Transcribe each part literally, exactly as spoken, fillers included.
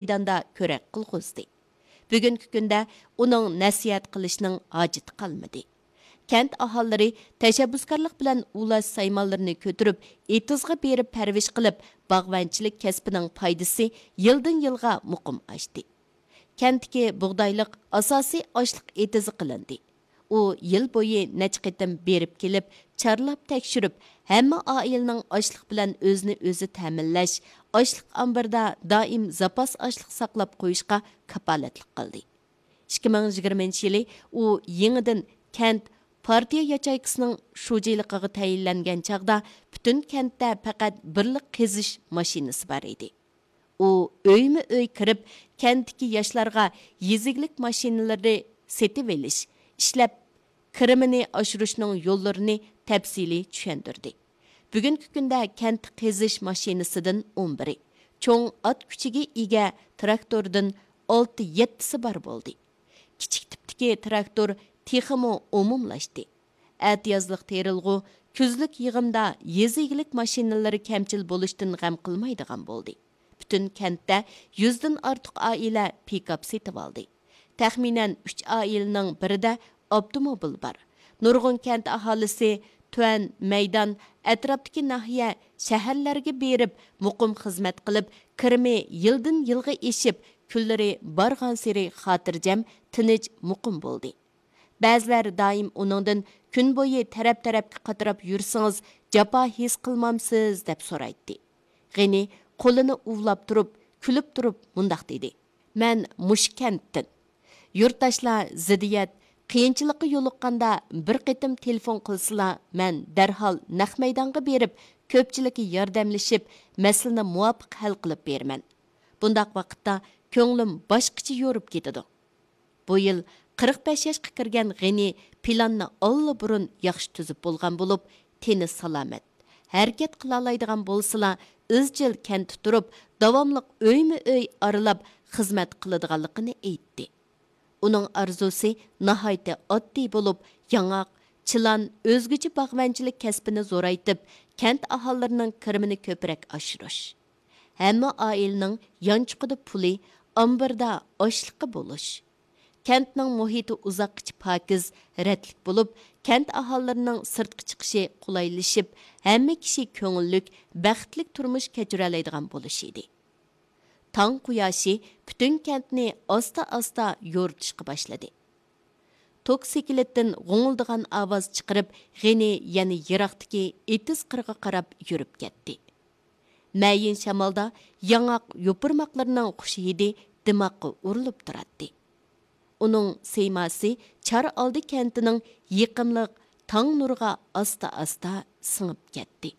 مەيداندا كۆرەك قىلغۇزدى. بۈگۈنكى كۈندە ئۇنىڭ نەسىھەت قىلىشنىڭ ھاجىتى قالمىدى. كەنت ئاھالىلىرى تەشەببۇسكارلىق بىلەن ئۇلاش سايمانلىرىنى كۆتۈرۈپ، ئېتىزغا بېرىپ پەرۋىش قىلىپ، باغۋەنچىلىك كەسپىنىڭ پايدىسى يىلدىن يىلغا مۇقىم ئاشتى. كەنتتىكى بۇغدايلىق ئاساسىي ئاشلىق ئېتىزى قىلىندى. ئۇ يىل بويى نەچچە قېتىم بېرىپ كېلىپ، چارلاپ تەكشۈرۈپ، ھەممە ئائىلىنىڭ ئاشلىق بىلەن ئۆزىنى ئۆزى تەمىنلەش، ئاشلىق ئامبىرىدا دائىم زاپاس ئاشلىق ساقلاپ قويۇشقا كاپالەتلىك قىلدى. ئىككى مىڭ يىگىرمىنچى يىلى ئۇ يېڭىدىن كەنت پارتىيە ياچېيكىسىنىڭ شۇجىلىقىغا تەيىنلەنگەن چاغدا، پۈتۈن كەنتتە پەقەت بىرلا قېزىش ماشىنىسى بار ئىدى. ئۇ ئۆيمۇ ئۆي كىرىپ، كەنتتىكى ياشلارغا يېزا ئىگىلىك ماشىنىلىرى سېتىۋېلىش، ئىشلەپ كىرىمىنى ئاشۇرۇشنىڭ يوللىرىنى تەپسىلىي چۈشەندۈردى. بۈگۈنكى كۈندە كەنتتە قېزىش ماشىنىسىدىن ئون بىرى، چوڭ ئات كۈچىگە ئىگە تىراكتوردىن ئالتە يەتتىسى بار بولدى. كىچىك تىپتىكى تىراكتور تېخىمۇ ئومۇملاشتى. ئەتىيازلىق تېرىلغۇ، كۈزلۈك يىغىمدا يېزا ئىگىلىك ماشىنىلىرى كەمچىل بولۇشتىن غەم قىلمايدىغان بولدى. پۈتۈن كەنتتە يۈزدىن ئارتۇق ئائىلە پىكاپ سېتىۋالدى. تەخمىنەن ئۈچ ئائىلىنىڭ بىرىدە ئاپتوموبىل بار. نۇرغۇن كەنت ئاھالىسى تۈەن، مەيدان، ئەتراپتىكى ناھىيە، شەھەرلەرگە بېرىپ، مۇقىم خىزمەت قىلىپ، كىرىمى يىلدىن يىلغا ئېشىپ، كۈنلىرى بارغانسېرى خاتىرجەم، تىنچ، مۇقىم بولدى. بەزىلەر دائىم ئۇنىڭدىن «كۈن بويى تەرەپ-تەرەپكە قاتراپ يۈرسىڭىز، جاپا ھېس قىلمامسىز؟» دەپ سورايتتى. غېنى قولىنى ئۇۋىلاپ تۇرۇپ، كۈلۈپ تۇرۇپ مۇنداق دېدى: «مەن مۇشۇ كەنتتىن. يۇرتداشلار زىددىيەت، قىيىنچىلىققا يولۇققاندا بىر قېتىم تېلېفون قىلسىلا، مەن دەرھال نەق مەيدانغا بېرىپ، كۆپچىلىككە ياردەملىشىپ، مەسىلىنى مۇۋاپىق ھەل قىلىپ بېرىمەن. بۇنداق ۋاقىتتا كۆڭلۈم باشقىچە يورۇپ كېتىدۇ.» بۇ يىل قىرىق بەش ياشقا كىرگەن غېنى پىلاننى ئاللىبۇرۇن ياخشى تۈزۈپ بولغان بولۇپ، تېنى سالامەت، ھەرىكەت قىلالايدىغان بولسىلا، ئىزچىل كەنتتە تۇرۇپ، داۋاملىق ئۆيمۇ ئۆي ئارىلاپ خىزمەت قىلىدىغانلىقىنى ئېيتتى. ئۇنىڭ ئارزۇسى ناھايىتى ئاددىي بولۇپ، ياڭاق، چىلان، ئۆزگىچە باغۋەنچىلىك كەسپىنى زورايتىپ، كەنت ئاھالىلىرىنىڭ كىرىمىنى كۆپرەك ئاشۇرۇش، ھەممە ئائىلىنىڭ يانچۇقىدا پۇلى، ئامبىرىدا ئاشلىقى بولۇش، كەنتنىڭ مۇھىتى ئۇزاققىچە پاكىز، رەتلىك بولۇپ، كەنت ئاھالىلىرىنىڭ سىرتقا چىقىشى قولايلىشىپ، ھەممە كىشى كۆڭۈللۈك، بەختلىك تۇرمۇش كەچۈرەلەيدىغان بولۇشى ئىدى. تاڭ قۇياشى پۈتۈن كەنتنى ئاستا-ئاستا يورۇتۇشقا باشلىدى. توكسىكلىتتىن غوڭۇلدىغان ئاۋاز چىقىرىپ، غېنى يەنە يىراقتىكى ئېتىز قىرىغا قاراپ يۈرۈپ كەتتى. مەيىن شامالدا ياڭاق يوپۇرماقلىرىنىڭ خۇش ھىدى دىماغقا ئۇرۇلۇپ تۇراتتى. ئۇنىڭ سىيماسى چار ئالدى كەنتىنىڭ يېقىملىق تاڭ نۇرىغا ئاستا-ئاستا سىڭىپ كەتتى.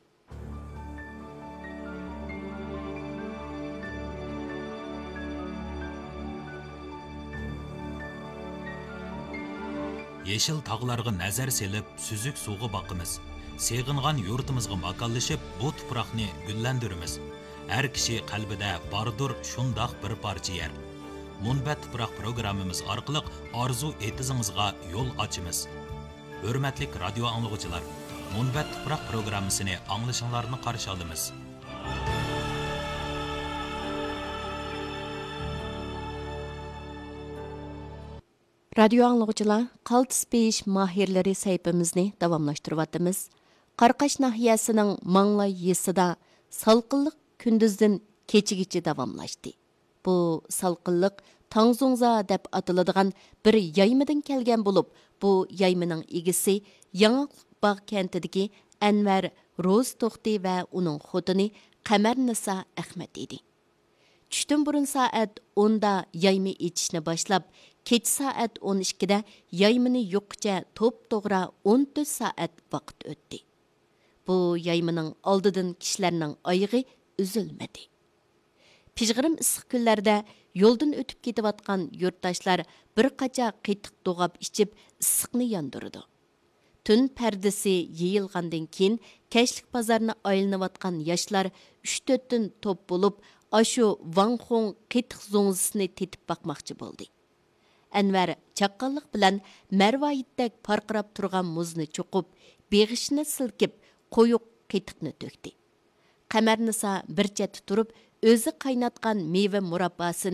يېشىل تاغلارغا نەزەر سېلىپ، سۈزۈك سۇغا باقىمىز. سېغىنغان يۇرتىمىزغا ماكانلىشىپ، بۇ تۇپراقنى گۈللەندۈرىمىز. ھەر كىشى قەلبىدە باردۇر شۇنداق بىر پارچە يەر. مۇنبەت تۇپراق پروگراممىمىز ئارقىلىق ئارزۇ ئېتىزىڭىزغا يول ئاچىمىز. ھۆرمەتلىك رادىيو ئاڭلىغۇچىلار، مۇنبەت تۇپراق پروگراممىسىنى ئاڭلىشىڭلارنى قارشى ئالىمىز. رادىيو ئاڭلىغۇچىلار، قالتىس بېيىش ماھىرلىرى سەھىپىمىزنى داۋاملاشتۇرۇۋاتىمىز. قاراقاش ناھىيەسىنىڭ ماڭلاي يېزىسىدا سالقىنلىق كۈندۈزدىن كېچىگىچە داۋاملاشتى. بۇ سالقىنلىق تاڭزۇڭزا دەپ ئاتىلىدىغان بىر يايمىدىن كەلگەن بولۇپ، بۇ يايمىنىڭ ئىگىسى ياڭاقلىق باغ كەنتىدىكى ئەنۋەر روزى توختى ۋە ئۇنىڭ خوتۇنى قەمەرنىسا ئەخمەت ئىدى. چۈشتىن بۇرۇن سائەت ئوندا يايما ئېچىشنى باشلاپ، كېچە سائەت ئون ئىككىدە يايمىنى يۇققىچە توپتوغرا ئون تۆت سائەت ۋاقىت ئۆتتى. بۇ يايمىنىڭ ئالدىدىن كىشىلەرنىڭ ئايىغى ئۈزۈلمىدى. پىژغىرىم ئىسسىق كۈنلەردە يولدىن ئۆتۈپ كېتىۋاتقان يۇرتداشلار بىر قاچا قېتىق دوغاپ ئىچىپ، ئىسسىقنى ياندۇرىدۇ. تۈن پەردىسى يېيىلغاندىن كېيىن، كەچلىك بازارنى ئايلىنىۋاتقان ياشلار ئۈچ تۆتتىن توپ بولۇپ، ئاشۇ ۋاڭخۇڭ قېتىق زوڭزىسىنى تېتىپ باقماقچى بولدى. ئەنۋەر چاققانلىق بىلەن مەرۋايىتتەك پارقىراپ تۇرغان مۇزنى چوقۇپ، بېغىشىنى سىلكىپ، قويۇق قېتىقنى تۆكتى. قەمەرنىسا بىر چەتتە تۇرۇپ، ئۆزى قايناتقان مېۋە مۇرابباسىنى